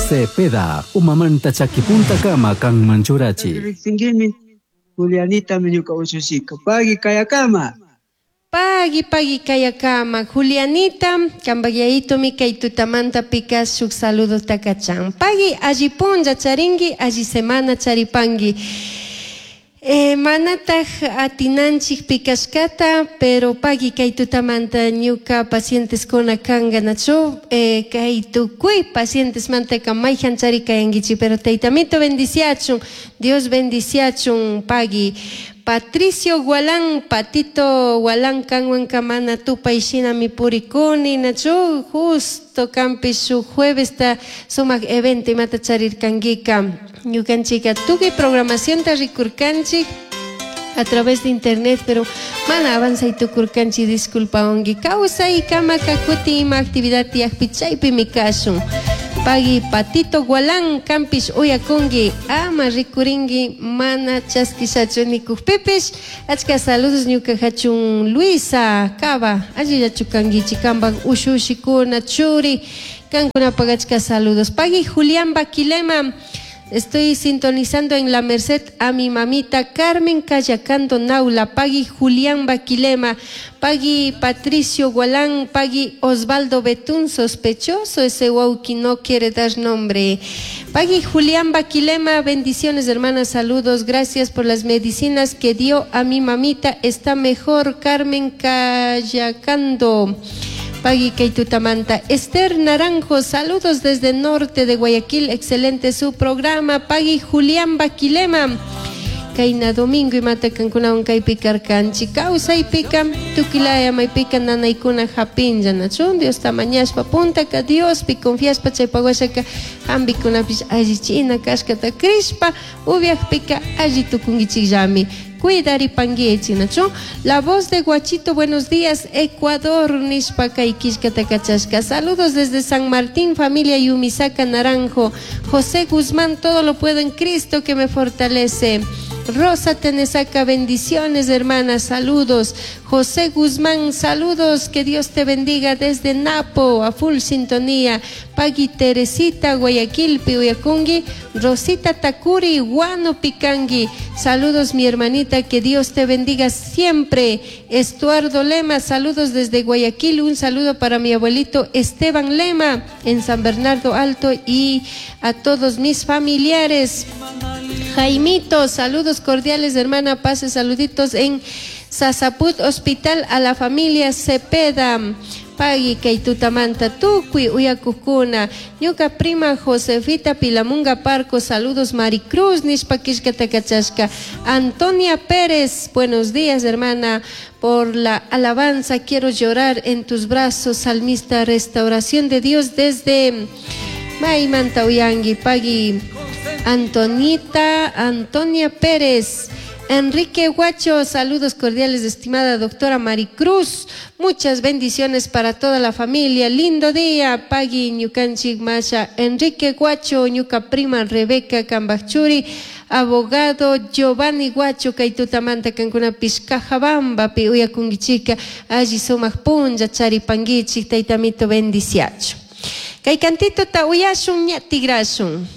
Cepeda, umamanta chakipuntakama kanman churachi. Riqsinkimi Julianitami ñuka ushushika. Pagui kayakama. Pagui, pagui kayakama. Julianita, kambak yayitomi kay tutamanta pika shuk saludota kachan. Pagui, alli punlla charinki, alli semana charipanki. Manataj atinanchik pikashkata, pero pagui kay tutamanta ñuka pacienteskuna kanka nachu kay tukuy pacientesmantaka mayjan chari kayankichik, pero taytamito bendiciachun, Dios bendiciachun, pagui. Patricio Gualán, Patito Gualán kanwanka mana tupay shinami purikuni, nachu justo kanpi shuk juevesta sumak evento imata charirkankika. Ñukanchika tukuy programacionta rikurkanchik a través de internet, pero mana avanzay tukurkanchik, disculpawanki. Kawsay kamaka kutin ima actividad tiyakpi chaypimi kashun. Pagui Patito Gualán, kampish uyakunki, ama rikurinki, mana chaskishachu nikukpipish. Achka saludos ñuka hachun Luisa Cava, allillachu kankichik, kampak ushushikuna, churi, kankunapak achka saludos. Pagui Julián Baquilema, estoy sintonizando en La Merced a mi mamita Carmen Cayacando Naula, Pagui Julián Baquilema, Pagui Patricio Gualán, Pagui Osvaldo Betún, sospechoso ese wauki no quiere dar nombre. Pagui Julián Baquilema, bendiciones hermanas, saludos, gracias por las medicinas que dio a mi mamita, está mejor Carmen Cayacando. Pagui Keitutamanta. Esther Naranjo, saludos desde el norte de Guayaquil, excelente su programa. Pagui Julián Baquilema. Kayna domingo imata kankunawan kaypi karkanchik. Kawsaypika tukilaya maypika nanaykuna hapinlla, nachu? Diosta mañashpa puntaka Diospi confiashpa chaypa washaka hampikunapish allichina kashkata crishpa upiakpika alli tukunkichikllami. Cuidaripanguichi, nachu? La voz de Guachito, buenos días, Ecuador, nishpa kay killkata kachashka. Saludos desde San Martín, familia Yumisaka Naranjo. José Guzmán, todo lo puedo en Cristo que me fortalece. Rosa Tenesaca, bendiciones, hermana, saludos. José Guzmán, saludos, que Dios te bendiga desde Napo, a full sintonía. Pagui Teresita, Guayaquil, Piuyacungui. Rosita Takuri, Guano Picangui. Saludos, mi hermanita, que Dios te bendiga siempre. Estuardo Lema, saludos desde Guayaquil. Un saludo para mi abuelito Esteban Lema en San Bernardo Alto y a todos mis familiares. Jaimito, saludos cordiales, hermana, pase saluditos en Sasaput Hospital a la familia Cepeda. Pagui kay tutamanta tukuy uyakukuna. Ñuka prima Josefita Pilamunga Parco, saludos Maricruz, nishpa killkata kachashka. Antonia Pérez, buenos días, hermana, por la alabanza quiero llorar en tus brazos, salmista, restauración de Dios desde Maymanta uyangi, pagui Antonita, Antonia Pérez. Enrique Guacho, saludos cordiales, estimada doctora Maricruz. Muchas bendiciones para toda la familia. Lindo día, Pagui Ñukanchik Masha. Enrique Guacho, ñuka prima Rebeca Cambachuri, abogado Giovanni Guacho, kay tutamanta kankunapish Cajabambapi uyakunkichika, alli sumak punlla charipankichik, taytamito bendiciachu. Kay cantito ta uyashun, ña tigrashun.